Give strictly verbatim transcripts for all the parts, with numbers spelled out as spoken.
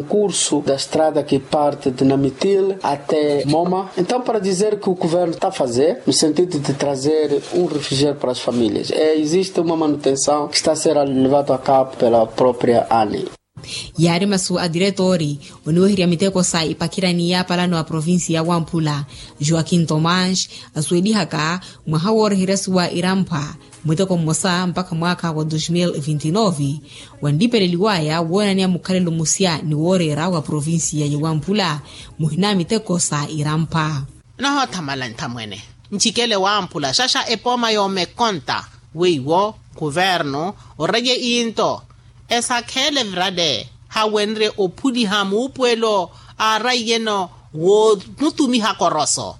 Curso da estrada que parte de Namitil até Moma. Então, para dizer que o governo está a fazer, no sentido de trazer um refrigério para as famílias, é, existe uma manutenção que está a ser levado a cabo pela própria ANI. Yaari masu a diretori oniweherya miteko sa ipakhirani ya palano a provincia ya wamphula, joaquim tomás, asuwelihaka mwaha wooreheryasiwa iramphwa muteko mmosa mpakha mwaakha wa dos mil vinti nove, wanlipeleliwaya woonaniya mukhalelo musya ni wooreera wa provincia ya wamphula muhina miteko sa iramphwa. Nohoothamala nthamwene, ncikele wamphula xaxa epooma yoomekonta weiwo kuvernu oreye iinto esakheele virale hawenrye ophuliha muupuwelo aaraiyeno woomutumiha koroso.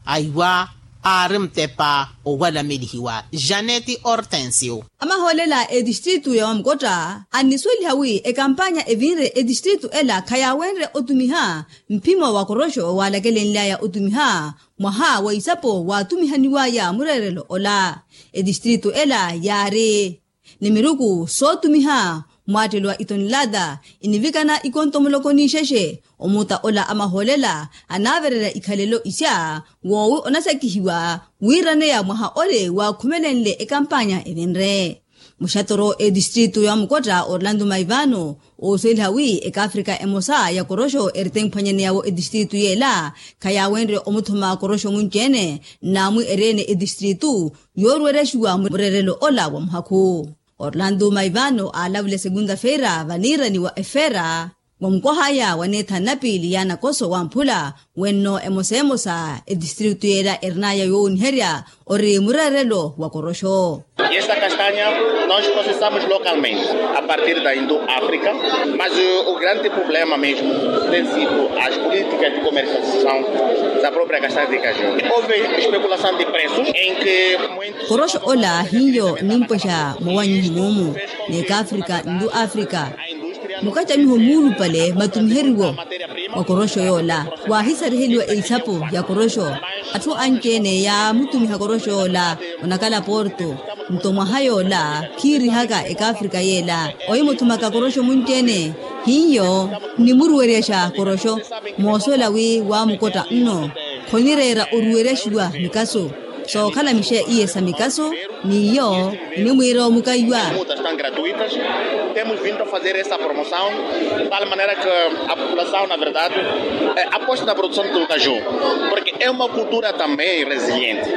Aiwa aari mutepa owalamelihiwa janeti ortensio. Amahoolela a etistritu ya wamukotta annisuweliha wi ekampanya evinre etistritu ela khayaawenrye otumiha mphimo wa koroxo waalakelenly'aya otumiha mwaha wa isapo waatumihaniw'aya mureerelo ola. Etistritu ela yaari ni miruku sootumiha mwaattelwa itonelata inivikana ikonto muloko n'ixexe. Omuta ola amahoolela anaavererya ikhalelo isya woowi onasakihiwa wiiraneya mwaha ole waakhumelenle ekampanya evinre. Muxatoro etistritu ya mukotta orlando maivano oosweliha wi ekaafrika emosa ya koroxo erite mphwanyaneyawo etistritu yeela khayaawenrye omuthuma koroxo munci-ene. Nnaamwi ereene etistritu yooruweryaxiwa mureerelo ola wa muhakhu. Orlando maivano aalavula esegunta feira vaniirani wa efeira wa mukwah'aya waneetha nnapiili ya nakoso wamphula wenno emosa emosa etistritu yeela erin'aya yoowoniherya ori mureerelo wa koroxo. Esta castanha nós processamos localmente a partir da indo africa, mas o grande problema mesmo tem sido as políticas de comercialização da própria castanha de caju. Houve especulação de preços em que muitos koroxo ola hiyo nimpwexa mowanyiho moomu n'ekaafrika nlu afrika mukacamiho muulupale matumiheriwo wa koroxo yoola. Waahisariheliwa eisapo ya koroxo atthu anci-ene yaamutumiha koroxo yoola onakala porto. Nto mwaha yoola khiirihaka ekaafrika yeela ohimuthumaka koroxo munci-ene hiyo nnimuruweryaxa koroxo. Moosuwela wi waamukotta nno khonireera oruweryaxiwa mikaso sookhala mixe iye sa mikaso n'iyo enimwiira omukaiwa. Temos vindo a fazer essa promoção de tal maneira que a população na verdade aposta na produção do caju, porque é uma cultura também resiliente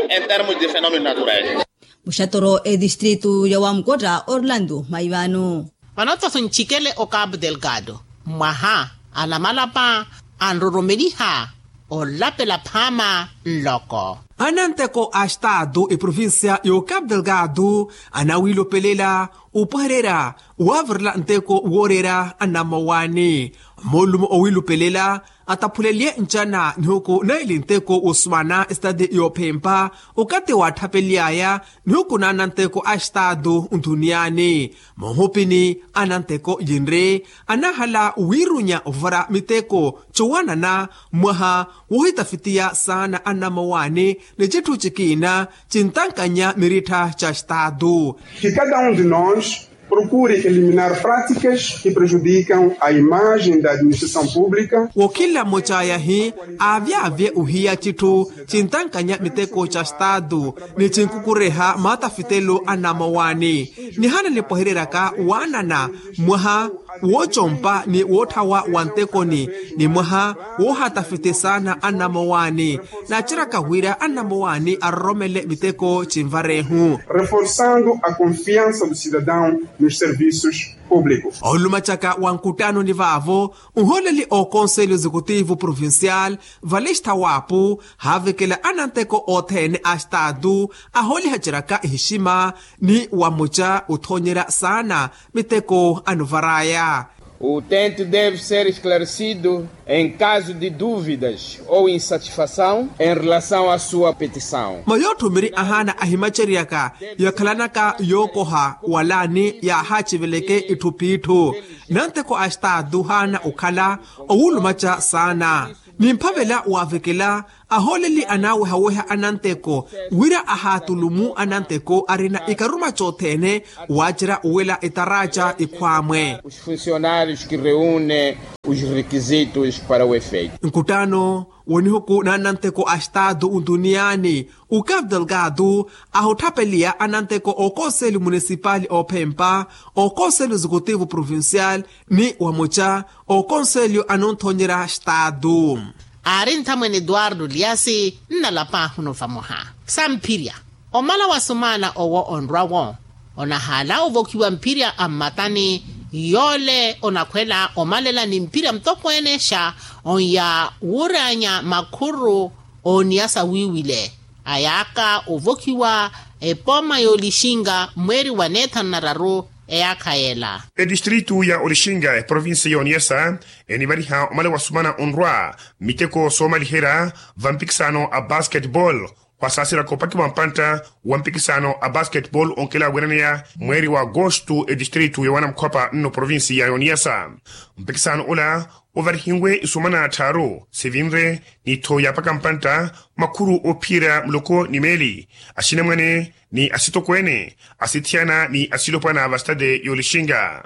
em termos de fenômenos naturais. Muxatoro etistritu ya wamukotta orlando maivano. Vano-tho ntthikele o cabo delgado mwaha anamalapa anroromeliha olapela phaama nloko. Ananteko a estado eprovincia y'ocapo delgado anawiilopelela opwehererya waavirela nteko wooreera anamowani. Moolumo owiilopelela ataphuleliye ncana nihuku naili nteko wosumana estadi yoophempa okathi waatthapeliyaya nihuku naananteko a estado nthuniyani. Moohupini ananteko yinri anahala wiirunya ovara miteko cowanana mwaha woohitafitiya saana anamowani ni citthu cikiina cintankanya mirittha ca estado. Que cada um de nós procure eliminar práticas que prejudicam a imagem da administração pública. Wookhila mmocayahi aavyavye ohiya citthu cintankanya miteko ca estado ni cinkukureha maatafitelo a namowani. Nihana nipwehereryaka waanana mwaha woocompa ni wootthawa wa ntekoni ni mwaha woohatafite saana a namowani. Naaceryaka wira a namowani aroromele miteko cinvarehu. Reforçando a confiança do cidadão nos serviços públicos. Olumacaka wa nkuttanoni vaavo nholeli o conselho executivo provincial valista waapu haavekela ananteko othene a estado aholihaceryaka ehixima ni wamuca othoonyerya saana miteko anovaraya. O utente deve ser esclarecido em caso de dúvidas ou insatisfação em relação à sua petição. Mayootthumiri ahaana ahimaceryaka yakhalanaka yookoha wala ni yaahaciveleke itthu p'itthu. Nanteko a estado haana okhala owulumaca saana ni mphavela waavekela ahooleli anaawehaweha ananteko wira ahaatulumu ananteko arina ikaruma cothene waacerya owela etaraca ikhwaamwe. Os funcionários que reúnem Os requisitos para o efeito. Nkuttano wonihuku na ananteko a estado ntuniyaani, o cabo delgado ahutthapeliya ananteko okonselho municipal ophempa, okonselho executivo provincial, ni wamuca okonselho anonthonyerya estado. Aari nthamwene eduardo liasi nnalapaahu no vamoha samphirya. Omala wa sumaana owo onrwa-wo onahaala ovokhiwa mphirya a mmatani, yoole onakhwela omalela ni mphirya mutokweene xa onya wuuranya makhuru ooniya sawiiwile. Ayaaka ovokhiwa epooma y'olixinga mweeri wa neethanu na raru eyaakha yeela. Etistritu ya olixinga eprovinsi ya oniyasa enivariha omala wa sumaana onrwa miteko soomaliherya va mpikisano a basketball. Khwasaasilaka opakiwa mpantta wa mpikisano a basketball onkela wiraneya mweeri wa agosto etistritu ya wanamukhwapa nno provinsi ya oniyasa. Mpikisano ola ovarihiwe isumaana tthaaru sivinre ni tho yaapaka mpantta makhuru oophiyerya muloko ni meeli, axinamwane ni asitokweene, asithiyana ni asilopwana va stade y'olixinga.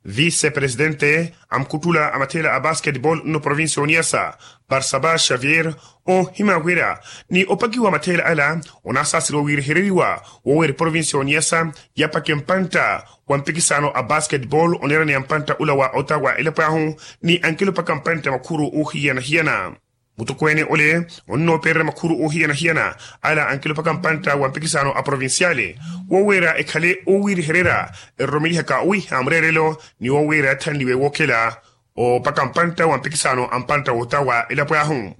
Vise presidente a mukhuttula a matheela a basketball nno provinsi ya oniyasa, barsaba xavier, oohima wira ni opakiwa matheela ala onaasaaseriwa wiirehereriwa woowira eprovinsi ya oniyasa yapake mpantta wa mpikisano a basketball oneeraneya mpantta ula wa ota wa elapo ahu ni ankelo opaka mpantta makhuru oohiyana-hiyana. Mutokweene ole onnoopererya makhuru oohiyana-hiyana ala ankelo opaka mpantta wa mpikisano a provinciale woowira ekhale oowiirihererya eroromelihaka owiiha mureerelo ni woowira yathanliwe wookhela opaka mpantta wa mpikisano a mpantta w'ota wa elapo ahu.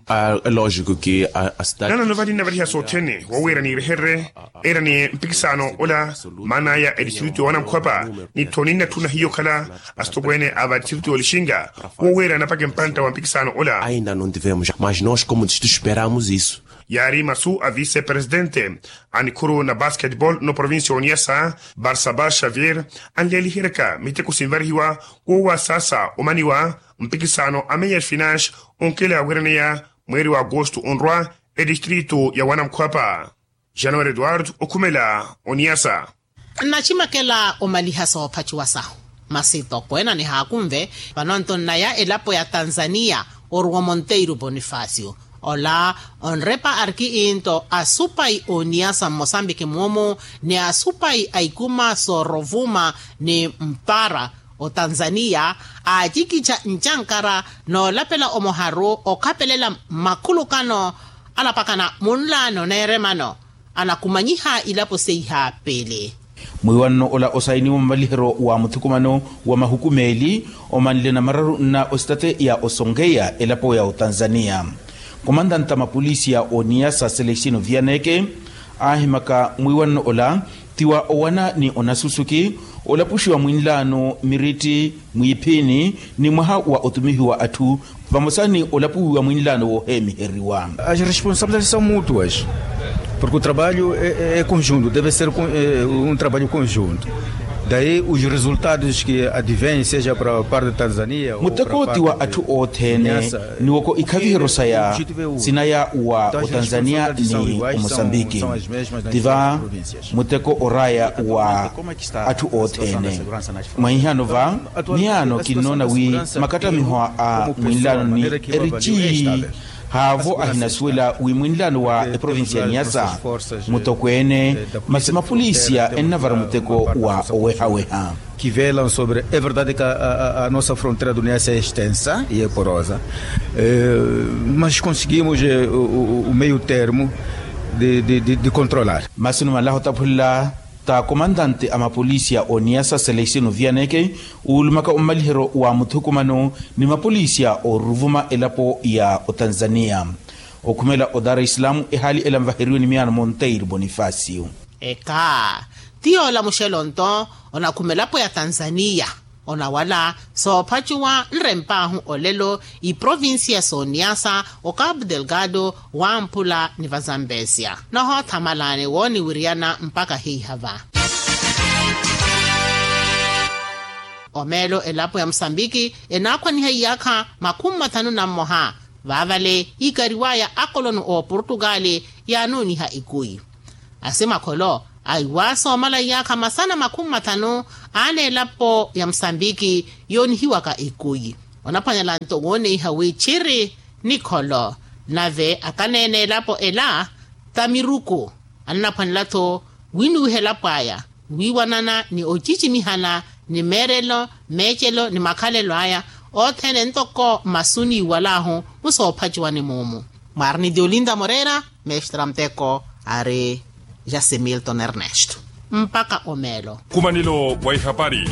Nanano vali nnavariha sothene woowira niirehererye era ni mpikisano ola maana aya etistritu ya wanamukhwapa ni tho ninnatthuna hiyo okhala asitokweene a va etistritu y'olixinga woowira napake mpantta wa mpikisano ola. Ainda no tivemos mas nos como distritu esperamos isso. Yaari masu a vise presidente a nikhuru na basketball no provincia oniyasa, barsaba xavier, anleeliheryaka miteko sinvarihiwa woowasaasa omaniwa mpikisano a meyer finance onkela wiraneya mweeri wa agosto onrwa etistritu ya wanamukhwapa. January eduardo okhumela oniyasa. Nnacimakela omaliha soophaciwa sahu masi tokweena nihaakunve. Vano nto nnaya elapo ya tanzania oruwa monteiro bonifacio ola onrepa arki into asupayi oniyasa mmosambiki mumu ni asupayi a ikuma sorovuma ni mpara otanzania aacikica ncankara noolapela omoharu okhapelela mmakhulukano alapakana munlaano neeremano anakumanyiha ilapo seiha pele. Mwiiwanno ola osainiwa mumaliheryo wa muthukumano wa mahukumeeli omanle na mararu nna ositateya osonkeya elapo ya otanzania. Komandanta mapolisi ya oniyasa selestino vianeke aahimaka mwiiwanno ola ti wa owana ni onasusuki olapuxiwa mwinlaano miritti mwiiphini ni mwaha wa otumihiwa atthu vamosa ni olapuwiwa mwinlaano wooheemiheriwa. As responsabilidades são mutuas porque o trabalho é conjunto deve ser um trabalho conjunto. Daí os resultados que advem seja para parte de tanzania muteko ti wa atthu othene ni woko ikhaviheryo saya sinaya wa otanzania ni omosambiki. Tiva muteko oraya wa atthu othene. Mwahihaano va miyaano kinnoona wi makattamiho a mwinlaano ni erici haavo ahinasuwela wi mwinlaano wa eprovincia niyasa mutokweene masi mapolisia ennavara muteko wa owehaweha. Que velam sobre é verdade que a nossa fronteira do niyasa é extensa e é porosa mas conseguimos o meio termo de controlar. Masi numalaha otaphulela ta komandante a mapolisi ya oniyasa selestino vianeke uulumaka omumaliheryo wa muthukumano ni mapolisi ya oruvuma elapo ya otanzania okhumela odar islam ehaali ela nvaheriwe ni miyaano monteiro bonifacio. Eka ti yoola muxelo nto onakhuma elapo ya tanzania onawala soophacuwa nrempaahu olelo iprovincia sooniyasa okapu delgado wamphula ni vazambesia nohoothamalani wooniwiriyana mpakha hiihava. Omeelo elapo ya musambiki enaakhwaniha iyaakha makhumi mathanu na mmoha vaavale iikariwaya akoloni ooportugali yaanuuniha ikui asimakholo aiwaasa omala iyaakha masana makhumi mathanu aana elapo ya musambiki yoonihiwaka ikui. Onaphwanela-nto wooneiha wi tthiri nikholo. Nave akaneene elapo ela ta miruku, annaphwanela-tho winuwiha elapo aya wiiwanana ni ocicimihana ni meerelo, meecelo ni makhalelo aya othene ntoko masu niiwalahu musoophaciwani muumu. Mwaari ni diolinda moreira, mestra muteko ari jasimilton ernesto. Mpakha omeelo. Nkumanelo wa ihapari.